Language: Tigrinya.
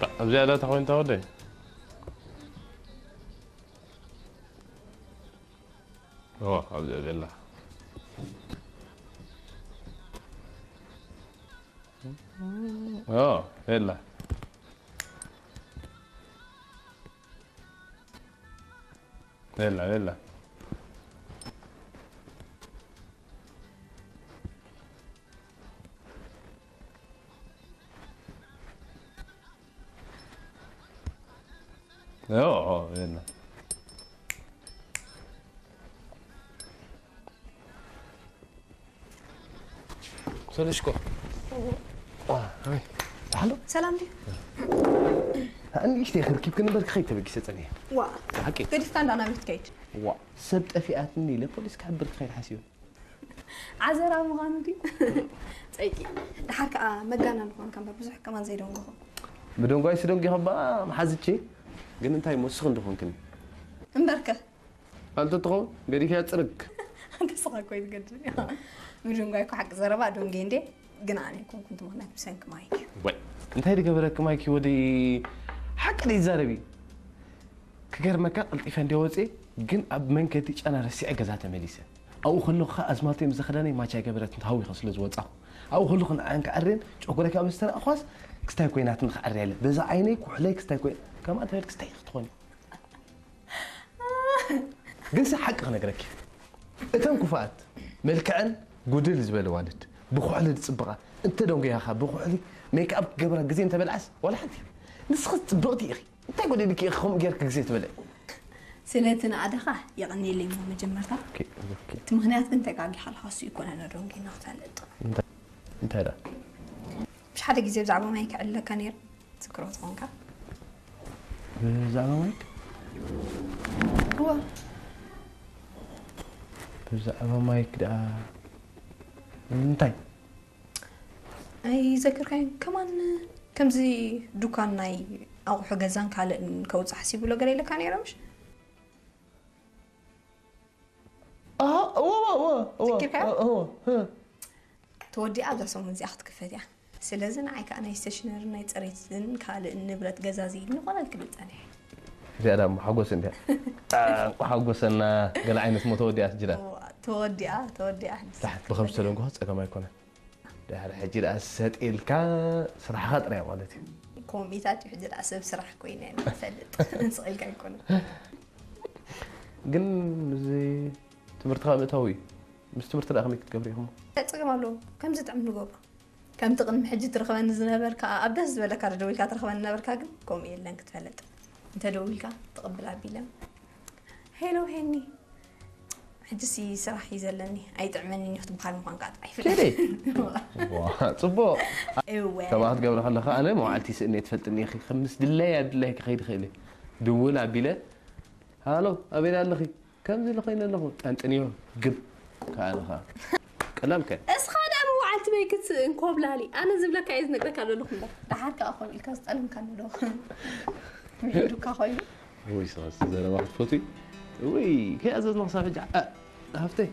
ኣብ ዝያዳ ተኾይንታ ወደይ? ኦ፣ ኣብዚኣ ዘላ። ኦ፣ የላ። የላ፣ የላ። ኦ፣ ኦ፣ የላ። ሰለሽኮ። ዋ፣ ሃይ። ሓሎ። ሰላም ድዩ? ንእሽተይ ክርኪብክን እምበር ክኸይድ ተበጊሰ ጸኒሐ። ዋ። ብሓቂ? ገዲፍካ እንዳ ናበይ ትከይድ? ዋ፣ ሰብ ጠፊኣትኒ ኢለ ፖሊስ ክሕብር ክኸይድ ሓሲበ። ዓዘራ ምዃኑ ድዩ? ጸይቂ። ደሓር ከኣ መጋና ዝኾንካ እምበር ብዙሕ ከማን ዘይደንጎኹ። ብደንጓይስ ደንጊኸ እባ መሓዝቼ። ግን እንታይ እሞ ንስኺ እንዶ ኾንክኒ? እምበርከ? ኣንተ ትኸውን ገዲፍያ ጽርግ። ኣንተ ስኻ እኮ እዩ ዝገድም። ምድንጓይ እኮ ሓቂ ዘረባ ደንጌ እንዴ፣ ግን ኣነ ኣይኮንኩን እቲ ምኽንያት ብሰንኪ ማይክ እዩ። ወይ፣ እንታይ ዝገበረኪ ማይክ እዩ ወደይ? ሓቂ ደይ ይዛረብ እዩ። ክገርመካ ቀልጢፈ እንደ ወፅኤ ግን ኣብ መንገዲ ጫና ረሲዐ ገዛ ተመሊሰ። ኣብኡ ከለኹ ከዓ ኣዝማልተይ ምስ ዘኽዳነይ ማች ኣይገበረትን ተሃዊኸ ስለ ዝወፃኹ። ኣብኡ ከለኹ ንዓን ክዓርየን ጨጉረይ ካብ ዝተረኣኽዋስ ክስታይ ኮይናትን ክዓርያ ኢለ። በዛ ዓይነይ ኩሕለይ ክስታይ ኮይና ከምኣ እንተበል ክስታይ ክትኾኒ። ግንሲ ሓቂ ክነግረኪ፣ እተን ክፉኣት መልክዐን ጉድል ዝበለ ዋልድ ብኩሕሊ ዝፅብቓ እንተ ደንጉያኻ ብኩሕሊ ሜክኣፕ ክገብራ ግዜ እንተበልዓስ ዋላ ሓንቲ። ንስኺ ፅብቕቲ ኢኺ፣ እንታይ ጎዲልኪ ኢኺ ከምኡ ጌርኪ ግዜ ትበልዒ? ስለቲ ንኣደኻ የቐንየለይ እሞ መጀመርታ። ኦኬ፣ ኦኬ። እቲ ምኽንያት ግን ተጋጊኻ ኣለኻ፣ እሱ ይኮነ ነደንጉና ክትፈልጥ። እንታይ፣ እንታይ ደኣ? ብሽ ሓደ ግዜ ብዛዕባ ማይ ክዕለካ ነይሩ። ትዝክሮ ትኾንካ? ብዛዕባ ማይክ? እወ። ብዛዕባ ማይክ ደኣ እንታይ? ኣይዘክርካዮን? ከማን ከምዚ ዱካን ናይ ኣቑሑ ገዛን ካልእን ከውፅእ ሓሲቡ ኣሎ ገለ ኢለካ ነይረ ምሽ? ኣሃ፣ እወ፣ እወ፣ እወ፣ እወ፣ ዘኪርካዮ? እወ፣ እወ፣ እ። ተወዲኣ ኣብዛ ሰሙን እዚኣ ክትክፈት እያ። ስለዚ ንዓይ ከኣ ናይ ስቴሽነሪ ናይ ጽሬትን ካልእን ንብረት ገዛዚ ንኾነል ክብል ጸኒሐ። እዚኣ ደኣ እሞ ሓጎስ እንድያ። ጣንቋ ሓጎሰና፣ ገለ ዓይነት እሞ ተወዲኣት ጅራ። እዋ፣ ተወዲኣ፣ ተወዲኣ። ዳሕ፣ ብኸም ዝተደንጎኻ ጸገም ኣይኮነን። ድሕሪ ሕጂ ደኣ ሰጥ ኢልካ ስራሕኻ ጥራይ ማለት እዩ። ኮሚታት እዩ ሕጂ ደኣ ሰብ ስራሕ ኮይነ እየ ንፈልጥ። ስቕ ኢልካ ኣይኮነን። ግን ምስዚ ትምህርትኻ ምእታው እዩ። ምስ ትምህርቲ ደኣ ከመይ ክትገብሪ ኢኹሞ? እንታይ ጸገም ኣለዎ? ከም ዝጥዕም ንገብሮ። ከምቲ ቅድሚ ሕጂ ትረኽበኒ ዝነበርካ፣ ኣብ ደስ ዝበለካ ዶ ደዊልካ ትረኽበኒ ነበርካ፣ ግን ከምኡ የለን ክትፈልጥ። እንተ ደዊልካ ትቕብል ኣቢለ። ሄሎ ሄኒ፣ ሕጂሲ ስራሕ እዩ ዘለኒ፣ ኣይጥዕመንን እዩ ክትበሃል ምዃንካ ጥራይ ይፍለጥ። ኬደይ? ዋ፣ ጽቡቕ። እወ። ከምኣ ክትገብሪ ከለኻ ኣነ መዋዕልቲ ስእኒ እየ ትፈልጥኒ ኢኺ። ከም ምስ ድለይ ኣብ ድለይ ክኸይድ እኽእል እየ። ድውል ኣቢለ፣ ሃሎ፣ ኣበይ ኣለኺ? ከምዚ ኢለ ኮይነ ኣለኹ። ጠንጥንዮ፣ ግብ። ከኣ ኣለኻ። ቀላል ከ? እስኻ ደኣ መዋዕልቲ በይ ክትስእን ኮብላሊ። ኣነ ዝብለካ እየ ዝነግረካ ዘለኹ እምበር። ደሓር ከኣ ከምኡ ኢልካ ዝጠለምካኒ ዶ? ምሒዱካ ኮይኑ። ውይ፣ ስኻስ ዘረባ ክትፈትዊ? ውይ፣ ከይኣዘዝና ክሳብ ሕጂ፣ ኣ፣ ሃፍተይ።